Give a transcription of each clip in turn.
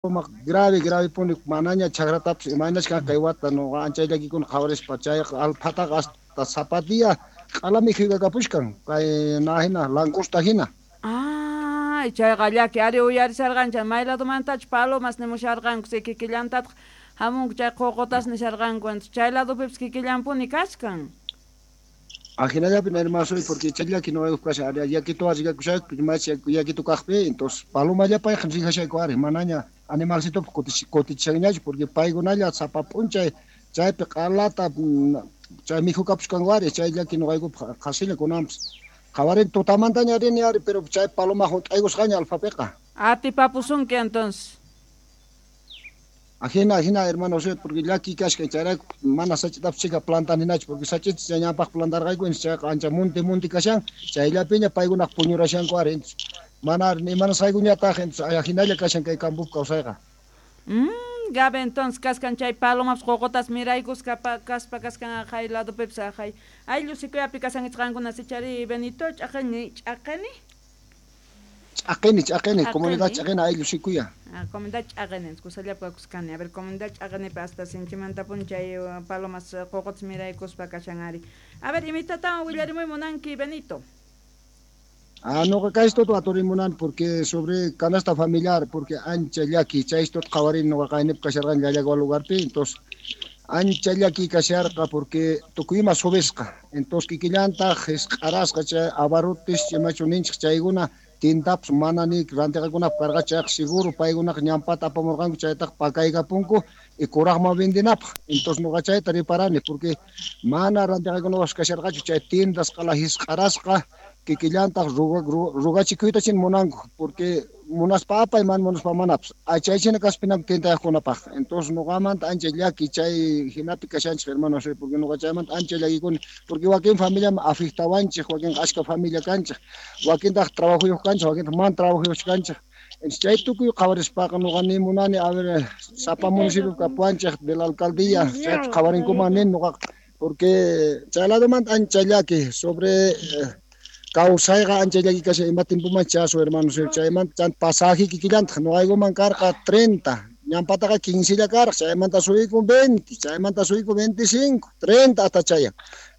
Grave, grave puni manaña chakratapis imaynachkan kay wata nuqa ancha llakikuna qhawarispa chayqa alphataqa hasta sapa día q'ala mikhuykakapuchkan kay hina langosta hina. Ay, chayqa llaki ari uyarisharqanchik may ladomantachu palomas nimusharqanku si kikillantataq hamunku chay qoqotas nisharqanku chay ladopipis kikillanpuni kachkan. Ajinallapi hermano porque chay llaki nuqaykup kashan ari yakituwan rikakushayku machi yakitu kaqpi entonces palomallapayqa rikashayku ari manaña animalcitopaq kutichishanñachu porque paykunalla sapa p'unchay chaypi q'alata chay mikhukapuchkanku ari chay llaki nuqaykupaq qhasilla kunanpis qhawarini tutamantaña rini ari pero chay paloma hunt'aykusqaña alfapiqa. Atipapusunki entonces. Ajina, ajina, hermano, porque llaki kashka chayrayku mana sach'itapis chika plantaninachu porque sach'ita chay ñawpaq plantarqayku chayqa ancha monte monte kashan chayllapiña paykunaq puñurashanku ari entonces mana imanasqaykuñataq entonces ajinalla kashan kay campopi kawsayqa. Gabe entonces kaskan chay palomapas qoqotas miraykusqa kaspa kaskan aqhay ladopipis aqhay ayllu sikuyapi kasankichik qankuna sichari Benito ch'aqeni ch'aqeni. Ch'aqeni, ch'aqeni, comunidad ch'aqeni ayllu sikuya. Ah, comunidad ch'aqeni, kusallapi kakuskani. A ver, comunidad ch'aqenipi hasta sinchimantapuni chay palomas qoqotas miraykuspa kashan ari. A ver, imitatawan willarimuy munanki Benito. Ah, nuqa kaystuta aturimunani porque sobre canasta familiar, porque ancha llaki, chaystuta qhawarini nuqa qaynipi kasharqani Llallagua lugarpi, entonces ancha llaki kasharqa porque tukuy ima subisqa, entonces kikillantaq hisq'arasqa chay abarrotes imachu ninchik chaykuna tintapis mana ni rantiqakunapaq karqa chayqa seguro paykunaqa ñampata apamurqanku chaytaqa pakaykapunku y kuraqman vendinapaq, entonces nuqa chayta reparani porque mana rantiqakunapas kasharqachu chay tiendas q'ala hisq'arasqa kikillantaq rugachikuyta chin munanku porque munaspa apay mana munaspa manapis chaychina kaspinanku tiendayaqkunapaq, entonces nuqamanta ancha llaki chay hinapi kashanchik hermano porque nuqa chaymanta ancha llakikuni porque wakin familiaman afectawanchik wakinqa ashka familia kanchik wakintaq trabajuyuq kanchik wakintaq mana trabajuyuqchu kanchik entonces chay tukuy qhawarispaqa nuqa ni munani a ver sapa municipio kapuwanchik de la alcaldía chaypi qhawarinkuman nin nuqaqa porque chay ladomanta ancha llaki sobre kawsayqa ancha llaki kashan ima tiempoman chasu hermano chaymanta chay pasaje kikillantaq nuqaykuman karqa 30 ñampataqa 15 lla karqa chaymanta subiykun 20 chaymanta subiykun 25 30 hasta chayan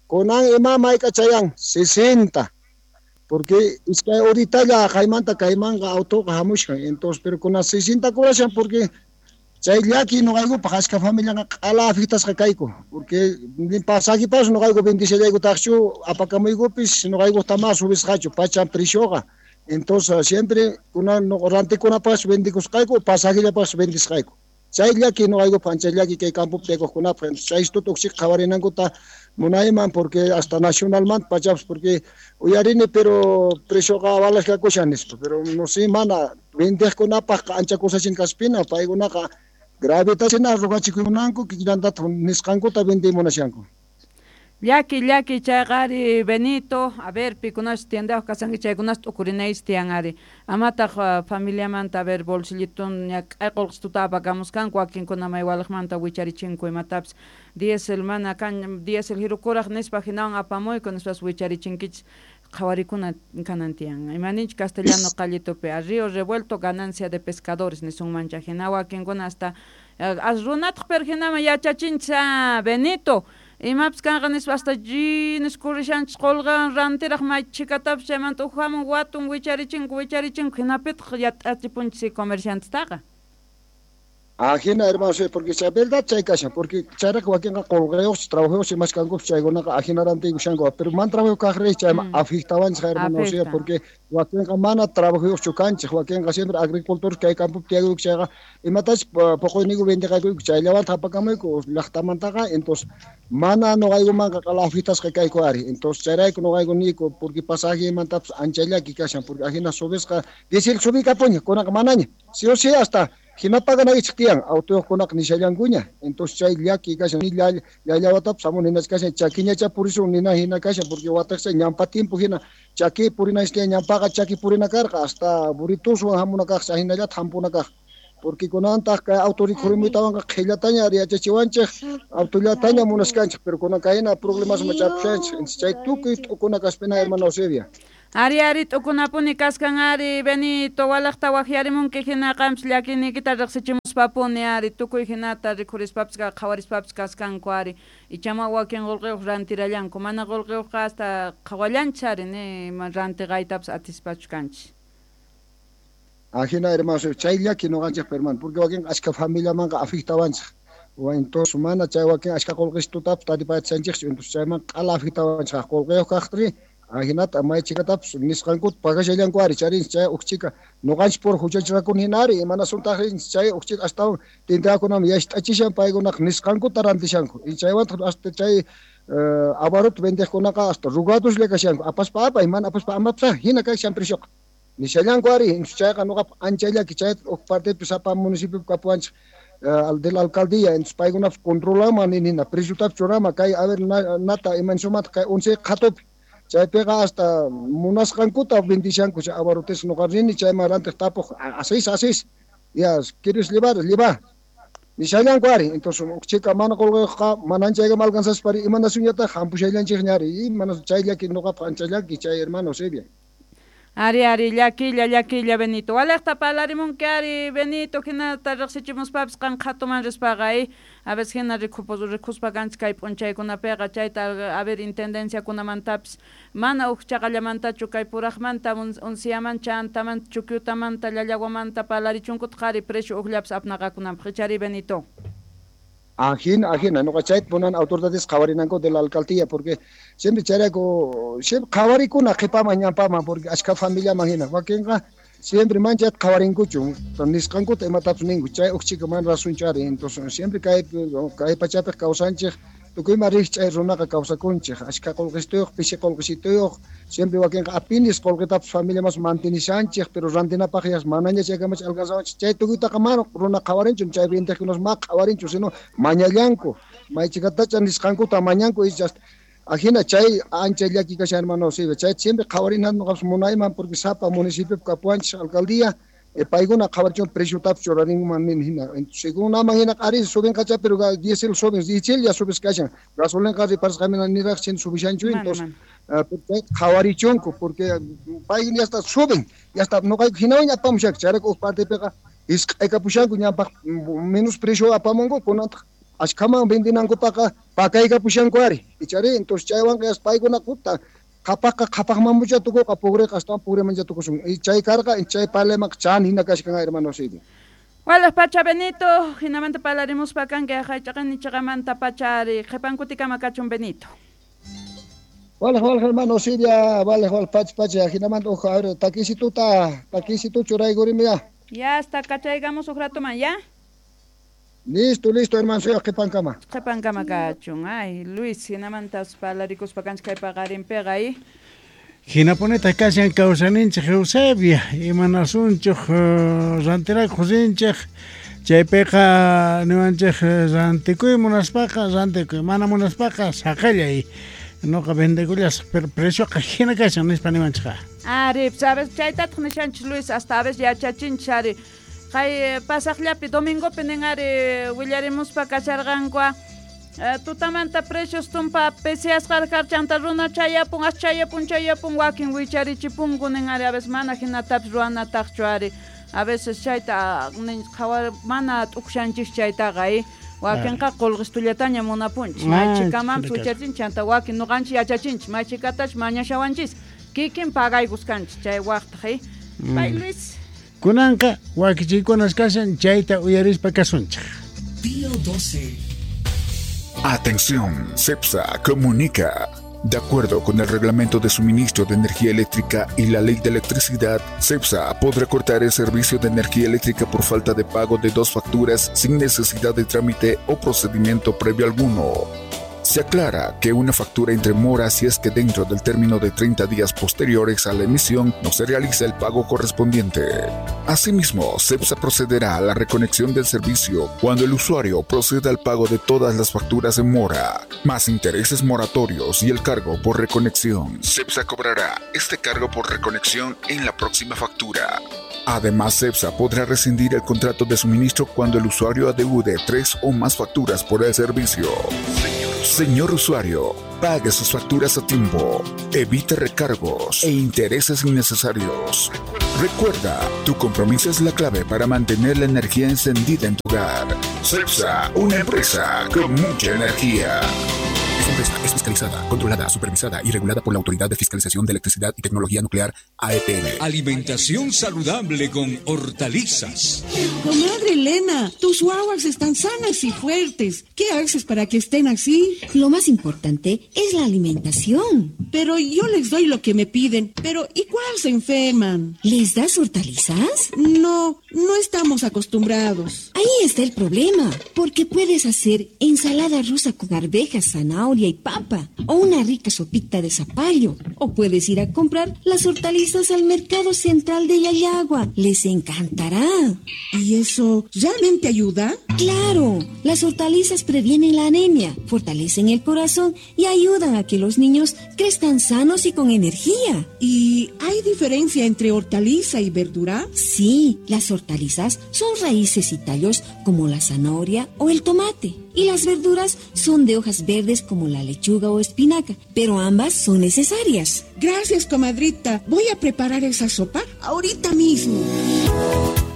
kunan ima mayk'a chayan 60 porque iskay horitalla kaymanta kaymanqa autoqa hamushkan entonces pero kunan 60 kurashan porque chay llaki nuqaykupaq ashka familiaqa q'ala afectasqa kayku porque pasajepas nuqayku vendishallaykutaqchu apakamuykupis nuqaykupaq ma subisqachu pacha precioqa entonces siempre kunan rantikunapaqchu vendikusqayku pasajellapaqchu vendisqayku chay llaki nuqaykupaq ancha llaki kay campopi tiyakuykunapaq chay istuta uqchik qhawarinankuta munayman porque hasta nacionalmanta pachapis porque uyarini pero precioqa avalashkakushan nispa pero no sé mana vendeqkunapaq ancha kusachin kaspina paykunaqa gravitachina rugachikumunanku kikillantataq nisqankuta vendiy munashanku. Llaki, llaki chayqa ari Benito, a ver pikunash tiendayuq kasanki chaykunash t'ukurinaychis tiyan ari. Amataq familiamanta a ver bolsillitun ñak'ay qullqituta apakamuskanku wakinkuna may waliqmanta wicharichinku imatapis diésel mana kan diésel hirukuraq nispa hinawan apamuyku nispas wicharichinkichis qhawarikuna kanan tiyan. Imaninchik castellano qallitupi a río revuelto ganancia de pescadores nisunmancha hina wakinkuna hasta as runataq pero hinaman yachachinchis Benito imapis kanqa nispa hasta niskurrishanchis qullqan rantiraq may chhikatapis chaymanta uqhamun watun wicharichinko wicharichinko hinapitaq yat'achipunchis comerciantestaqa. Ajina hermano, porque chay verdad chay kashan, porque chayraq wakinqa qullqayuqchis trabajayuqchis imaskankupas chaykunaqa ajina rantiykushanku, pero mana trabajayuq kaq rey chayman afectawanchik hermano, porque wakinqa mana trabajayuqchu kanchik, wakinqa siempre agricultores kay campopi tiyakuyku chayqa imatachis puquyniyku vendiqaykuyku chayllawantaq apakamuyku llaqtamantaqa, entonces mana nuqaykumanqa qala afectasqa kayku ari, entonces chayrayku nuqayku niyku porque pasajemantapis ancha llaki kashan, porque ajina subisqa diésel subikapuña kunaqa manaña, sí o sí hasta hinapaganaychik tiyan autoyuqkunaqa nishallankuña, entonces chay llaki kashan ni llallawatapis hamun hinach kashan chakiñacha purisun nina hina kashan porque wataqcha ñampa tiempo hina chaki purinaychik tiyan ñampaqa chaki purina karqa hasta burrituswan hamuna kaq hinallataq hampuna kaq porque kunantaq kay auto rikhurimuytawanqa qhillataña yachachiwanchik autollataña munaskanchik pero kunan kayna problemas machapushanchik entonces chay tukuy t'ukuna kaspina hermano Eusebia. Ari ari t'ukunapuni kaskan ari Benito walaqta waqyarimunki hina qampis llakiyniykita riqsichimuspapuni ari tukuy hinata rikhurispapis qhawarispapis kaskanku ari ichama wakin qullqiyuq rantirallanku mana qullqiyuqqa hasta qhawallanchis ari ni rantiqaytapas atispachu kanchis. Ajina hermano, chay llaki nuqanchikpa hermano, porque wakin ashka familiamanqa afectawanchik. Entonces mana chay wakin ashka qullqistutapas taripachanchikchu, entonces chayman q'ala afectawanchik qullqiyuq kaqtri. Ajinata may chikatapas nisqankuta pagashallanku ari charin chay uqchika nuqanchik pura huchachrakuni hina ari imanasuntaqri chay uqchika astawan tintakunam yasht'achishan paykunaqa nisqankuta rantishanku chaywantaq hasta chay abarot vendeqkunaqa hasta rugadoslla kashanku apaspa apay mana apaspa amapsa hina kashan precioqa nishallanku ari chayqa nuqapa ancha llaki chay uq partepi sapa municipiopi kapuwanchik de la alcaldía, entonces paykunapas controlaman nina preciotapis churama kay a ver nata imansumata kay 11 qhatupi chaypiqa hasta munasqankuta vendishanku chay abarrotes nuqa rini chayman rantiq tapuq asis ya quieres llevar lleva nishallanku ari entonces uqchika mana qullqiyuqqa manan chaykama alcanzaspari imanasuñataq hampushallanchikña ari mana chay llaki nuqapaq ancha llaki chay hermano Eusebia. Ari ari llakilla llakilla Benito walaqta parlarimunki ari Benito hinata riqsichimuspapis qan qhatuman rispaqa a veces hina rikhuspa kanchik kay p'unchaykunapiqa chayta a ver intendenciakunamantapis mana uq chaqallamantachu kay puraqmanta unciaman chantamanta chukyutamanta llallaguamanta parlarichunkutaq ari precio uqllapis apnaqakunanpaq ichari Benito. Ajina, ajina, nuqa chayta punan autoridades qhawarinanku de la alcaldía porque siempre chayrayku siempre qhawarikuna qhipaman ñanpaman porque ashka familiaman hina wakinqa siempre manchayta qhawarinkuchu nisqankuta imatapis ninku chay uqchika mana razonchu ari entonces siempre kay pachapiq kawsanchik tukuyma rikch'ay runaqa kawsakunchik ashka qullqistuyuq pishi qullqisituyuq siempre wakinqa apinis qullqitapas familiamas mantenishanchik pero rantinapaq yas manaña chaykamacha alcanzawanchik chay tukuytaqa mana runa qhawarinchu chay vendeqkunas ma qhawarinchu sino mañallanku maychikatacha nisqankuta mañanku y ajina chay ancha llaki kashan hermano Eusebio chay siempre qhawarina nuqapas munayman porque sapa municipiopi kapuwanchik alcaldía paykuna qhawarichun preciotapis churarinman nin hina según aman hina ari subinqacha pero diesel subin diesel ya subis kashan gasolinqa riparasqamina niraq chin subishanchu entonces qhawarichunku porque pay ya está suben ya está nuqayku hinawan apamushak chayrayku uq partepiqa isq'aykapushanku ñanpaq menos precio apamunku kunantaq ashkaman vendinankupaqa pakaykapushanku ari ichari entonces chaywanqa yas paykuna kuta qhapaqqa qhapaqmanmucha tukuqa pugriqa astawan pugrimancha tukusun y chay karqa chay parlaymanqa chan hina kashkan hermano Eusebio. Walaq pacha Benito hinamanta parlarimuspa kanki hach'aqani chaqamanta pacha ari qhipankutikama kachun Benito. Walaq walaq hermano Eusebia walaq walaq pacha pacha hinamanta uj a ver takisitu churaykurimi ya. Ya hasta kachaygamos uj ratoman ya. Listo, listo, hermano, soy qhipankama. Qhipankama kachun. Ay, Luis, hinamantas parlarikuspa kanchik kay paqarinpiqa ay. Hinapunitaq kashan kawsaninchik Eusebia, imanasunchik rantirakuq rinchik, chaypiqa niwanchik rantikuy munaspaqa rantikuy, mana munaspaqa saqallay. Nuqa vendekullasaq, pero precioqa hina kashan nispa niwanchikqa. Ari, sabes, chaytataq nishanchik Luis, hasta a veces yachachinchik ari. Kay pasaqllapi domingopi nin ari willarimuspa kasharqanku tutamanta precios tumpa pesiasqa karchanta runa chayapun as chayapun chayapun wakin wicharichipunku nin ari a veces mana hinatapis ruwanataqchu ari a veces chayta nin qhawar mana t'ukushanchik chaytaqa wakinqa qullqistullataña munapunchik maychikamanpis wicharichinchik chanta wakin nuqanchik yachachinchik maychikatachu mañashawanchis kikin pagaykuskanchik chay waqtaq pay Luis. Kunanqa wakichiykunas kashan chayta uyarispa kasunchik. Día 12. Atención, CEPSA comunica. De acuerdo con el Reglamento de Suministro de Energía Eléctrica y la Ley de Electricidad, CEPSA podrá cortar el servicio de energía eléctrica por falta de pago de 2 facturas sin necesidad de trámite o procedimiento previo alguno. Se aclara que una factura entre mora si es que dentro del término de 30 días posteriores a la emisión no se realiza el pago correspondiente. Asimismo, CEPSA procederá a la reconexión del servicio cuando el usuario proceda al pago de todas las facturas en mora, más intereses moratorios y el cargo por reconexión. CEPSA cobrará este cargo por reconexión en la próxima factura. Además, CEPSA podrá rescindir el contrato de suministro cuando el usuario adeude 3 o más facturas por el servicio. Señor usuario, pague sus facturas a tiempo, evite recargos e intereses innecesarios. Recuerda, tu compromiso es la clave para mantener la energía encendida en tu hogar. CEPSA, una empresa con mucha energía. Esta empresa es fiscalizada, controlada, supervisada y regulada por la Autoridad de Fiscalización de Electricidad y Tecnología Nuclear, AETN. Alimentación saludable con hortalizas. Comadre Elena, tus guaguas están sanas y fuertes. ¿Qué haces para que estén así? Lo más importante es la alimentación. Pero yo les doy lo que me piden, pero igual se enferman. ¿Les das hortalizas? No, no estamos acostumbrados. Ahí está el problema, porque puedes hacer ensalada rusa con arvejas, zanahoria y papa, o una rica sopita de zapallo, o puedes ir a comprar las hortalizas al mercado central de Llallagua. Les encantará. ¿Y eso realmente ayuda? Claro, las hortalizas previenen la anemia, fortalecen el corazón y ayudan a que los niños crezcan sanos y con energía. ¿Y hay diferencia entre hortaliza y verdura? Sí, las hortalizas son raíces y tallos como la zanahoria o el tomate. Y las verduras son de hojas verdes como la lechuga o espinaca, pero ambas son necesarias. Gracias, comadrita. Voy a preparar esa sopa ahorita mismo.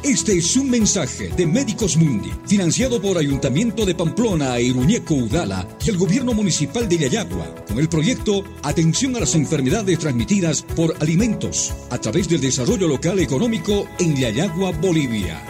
Este es un mensaje de Médicos Mundi, financiado por Ayuntamiento de Pamplona e Iruñeco Udala y el Gobierno Municipal de Llallagua, con el proyecto Atención a las Enfermedades Transmitidas por Alimentos, a través del Desarrollo Local Económico en Llallagua, Bolivia.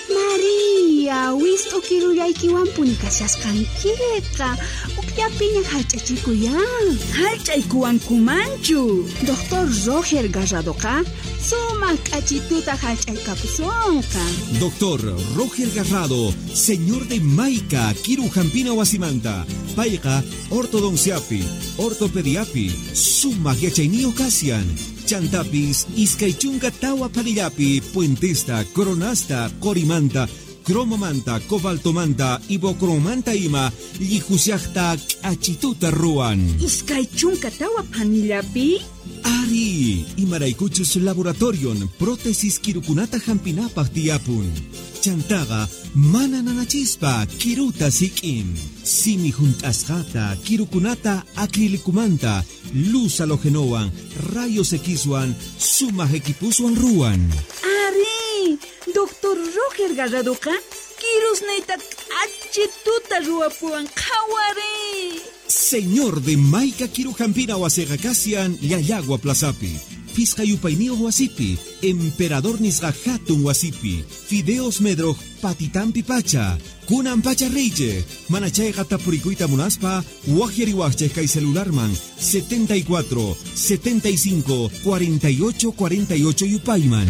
María, wist'ukirullaykiwanpuni kashasqankiqa, ukllapiña hallch'achikuyan. Hallch'aykuwankumanchu. Doctor Roger Garradoqa sumaq k'achituta hallch'aykapusunqa. Doctor Roger Garrado, señor de Maica, Kirujampina wasimanta, payqa ortodonciapi, ortopediapi, sumaq yachayniyuq kashan. Chantapis, iskay chunka tawa phanillapi, puentesta, coronasta, qorimanta, cromomanta, cobaltomanta, ibocromanta ima, llijusiaqta k'achituta ruwan. Iskay chunka tawa phanillapi? Ari, imaraykuchus laboratorion prótesis kirukunata hampinapaq tiyapun. Chantaqa mana nanachispa kiruta sik'in. Simi junt'asqata kirukunata acrilicumanta, luz halogenowan, rayos Xwan, sumaq equipuswan ruwan. Ari, Doctor Roger Garradoqa kirusniyta k'achituta ruwapuwan, qhawari. Señor de Maica Kirujampina wasiqa kashan Llallagua Plazapi, Pisqa yupayniyuq wasipi, Emperador nisqa hatun wasipi, Fideos Medroj patitampi pacha, kunan pacha riychej, mana chayqa tapurikuyta munaspa, waqyariwaqchej kay celularman 74 75 48 48 yupayman.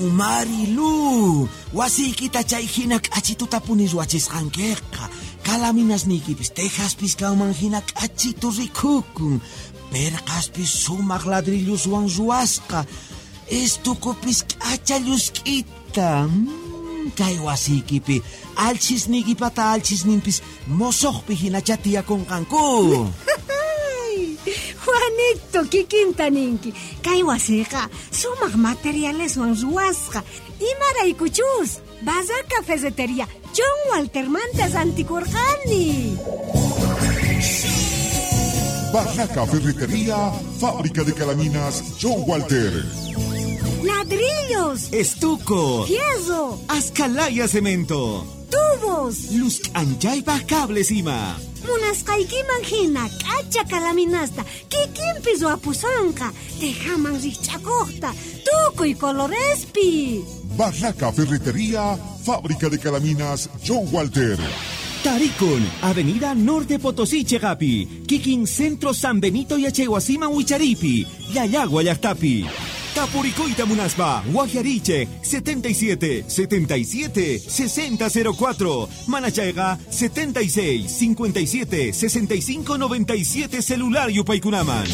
Marilu, wasiykita chay hina k'achituta puni ruwachisqankiqa. Kalaminasniykipis tejaspis kanman hina k'achitu rikukun. Perqaspis sumaq ladrilluswan ruwasqa. Estukupis k'acha llusk'ita. Kay wasiykipi alchisniykipata alchisninpis mosoqpi hinacha tiyakunqanku. Juanito, kikinta ninki. Kay wasiqa sumaq materialeswan ruwasqa. Imaraykuchus, Barraca Ferretería John Waltermanta rantikurqani. Barraca Ferretería, fábrica de calaminas John Walter. Ladrillos, estuco, fierro, ascalaya cemento, tubos, luz anchaypaj cables ima. Munasqaykiman hina k'acha kalaminasta kikinpi ruwapusonqa, tejaman rikch'akuqta, tukuy colorespi. Barraca Ferretería, fábrica de calaminas John Walter. Tarikun, Avenida Norte Potosí, Chegapi, Kikin Centro San Benito Yachaywasiman Wicharipi, Llallagua llaqtapi. Tapurikuyta munaspa, Waqyarichej 77 77 60 04, Manachayqa 76 57 65 97 celular yupaykunaman.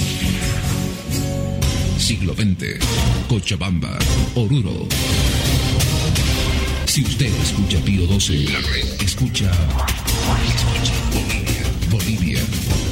Siglo XX, Cochabamba, Oruro. Si usted escucha Pío 12, la red escucha Bolivia, Bolivia.